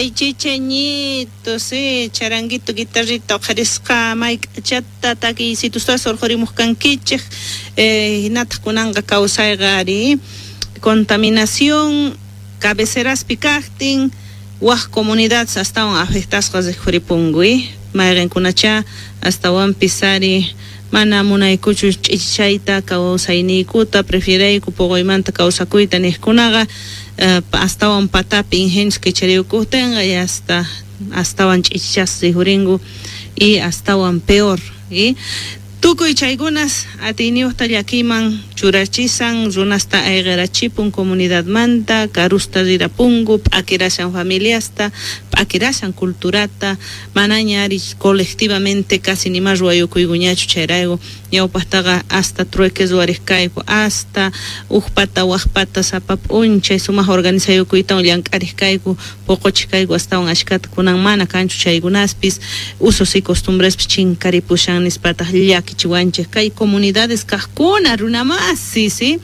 Chay chicheñito, sí, charanguito, guitarrita, uqharisqa mayk'achata takiysitustas urqhurimuq kankichej, hinataq kunanqa kawsayqa ari contaminación cabeceraspi kaqtin waj comunidades astawan afectasqa rikhuripunku, mayqinkunacha astawanpis ari mana munaykuchu ch'ichichayta kawsayniykuta prefierayku puquymanta kawsakuyta niqkunaqa astawan patapi ingenios kichariykuqtinqa y hasta astawan ch'ichichasqa rikhurinku y astawan peor, y tukuy chaykunas atiyniyuqta llakiyman churachisan runasta ayqirachipun comunidadmanta karusta rirapunku p'akirashan familiasta p'akirashan culturata manaña ari colectivamente casi nima ruwayukuykuñachu chayrayku ñawpaqtaqa hasta trueque ruwariq kayku hasta uqpata waqpata sapa p'unchay sumaq organizayukuytawan llank'ariq kayku puquchiq kayku astawan ashkata kunan mana kanchu chaykunaspis usos y costumbrespis chinkaripushan nispataq llakichiwanchik kay comunidades kaqkuna runamasi, sí,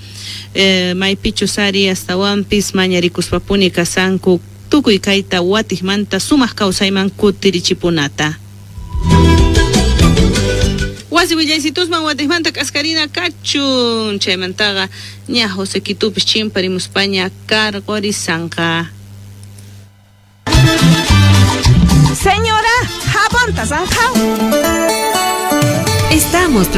maypichus ari astawanpis mañarikuspapuni kasanku tukuy kayta watiqmanta sumaq kawsayman kutirichipunata. Wasi willaysitusman watiqmanta k'askarina kachun chaymantaqa ña José Quitupis chimparimuspaña karqurisanqa. Señora, jabonta zanjao. Estamos